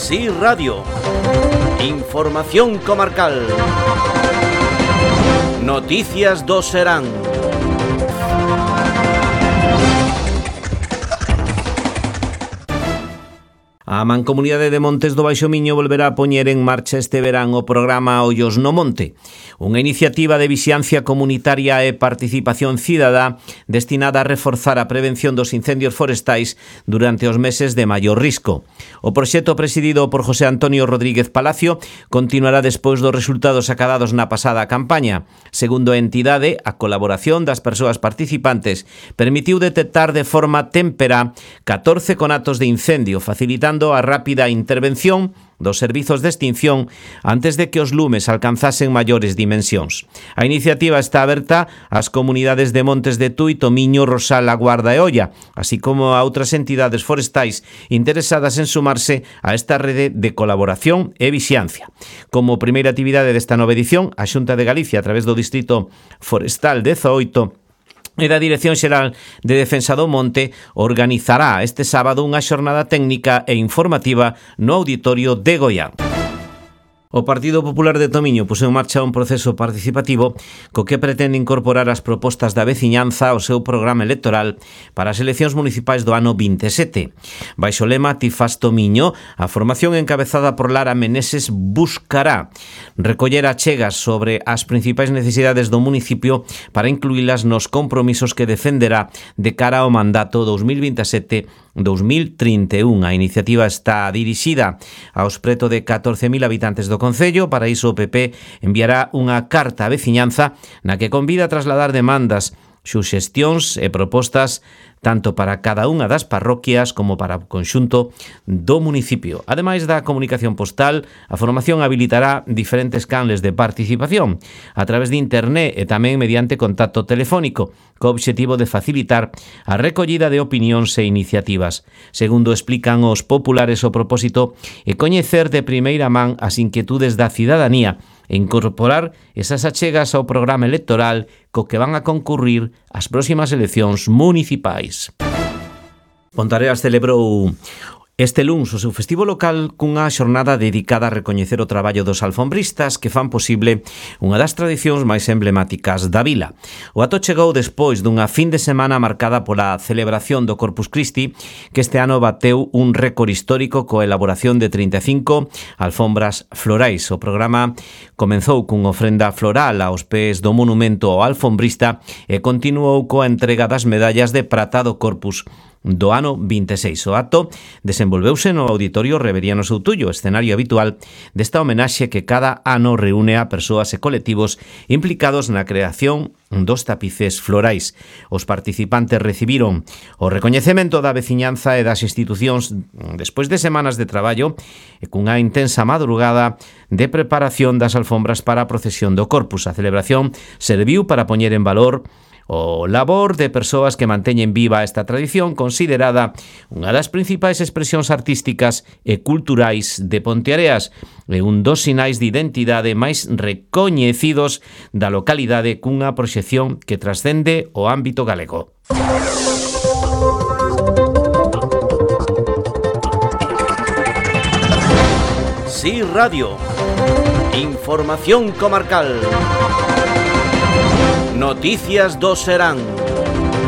Sí Radio. Información comarcal. Noticias do Serán. A Mancomunidade de Montes do Baixo Miño volverá a poñer en marcha este verán o programa Ollos no Monte, unha iniciativa de vixiancia comunitaria e participación cidadá destinada a reforzar a prevención dos incendios forestais durante os meses de maior risco. O proxecto presidido por José Antonio Rodríguez Palacio continuará despois dos resultados acadados na pasada campaña. Segundo a entidade, a colaboración das persoas participantes permitiu detectar de forma témpera 14 conatos de incendio, facilitando a rápida intervención dos servizos de extinción antes de que os lumes alcanzasen maiores dimensións. A iniciativa está aberta ás comunidades de Montes de Tui, Tomiño, Rosal, A Guarda e Oia, así como a outras entidades forestais interesadas en sumarse a esta rede de colaboración e vixiancia. Como primeira actividade desta nova edición, a Xunta de Galicia, a través do Distrito Forestal 18, e da Dirección Xeral de Defensa do Monte, organizará este sábado unha xornada técnica e informativa no Auditorio de Goián. O Partido Popular de Tomiño puxo en marcha un proceso participativo co que pretende incorporar as propostas da veciñanza ao seu programa electoral para as eleccións municipais do ano 27. Baixo o lema Ti fas Tomiño, a formación encabezada por Lara Meneses buscará recoller achegas sobre as principais necesidades do municipio para incluílas nos compromisos que defenderá de cara ao mandato 2027-2031. A iniciativa está dirixida aos preto de 14.000 habitantes do Concello. Para iso o PP enviará unha carta á veciñanza na que convida a trasladar demandas, suxestións e propostas tanto para cada unha das parroquias como para o conxunto do municipio. Ademais da comunicación postal, a formación habilitará diferentes canles de participación a través de internet e tamén mediante contacto telefónico, co obxectivo de facilitar a recollida de opinións e iniciativas. Segundo explican os populares, o propósito é coñecer de primeira man as inquietudes da cidadanía e incorporar esas achegas ao programa electoral co que van a concurrir as próximas eleccións municipais. Pontareas celebrou este luns o seu festivo local cunha xornada dedicada a recoñecer o traballo dos alfombristas que fan posible unha das tradicións máis emblemáticas da vila. O ato chegou despois dunha fin de semana marcada pola celebración do Corpus Christi, que este ano bateu un récord histórico coa elaboración de 35 alfombras florais. O programa comenzou cunha ofrenda floral aos pés do monumento ao alfombrista e continuou coa entrega das medallas de prata do Corpus do ano 26. O acto desenvolveuse no Auditorio Reveriano Soutullo, escenario habitual desta homenaxe que cada ano reúne a persoas e colectivos implicados na creación dos tapices florais. Os participantes recibiron o recoñecemento da veciñanza e das institucións despois de semanas de traballo e cunha intensa madrugada de preparación das alfombras para a procesión do Corpus. A celebración serviu para poñer en valor o labor de persoas que manteñen viva esta tradición considerada unha das principais expresións artísticas e culturais de Ponteareas e un dos sinais de identidade máis recoñecidos da localidade cunha proxección que trascende o ámbito galego. Sí Radio. Información comarcal. Noticias do Serán.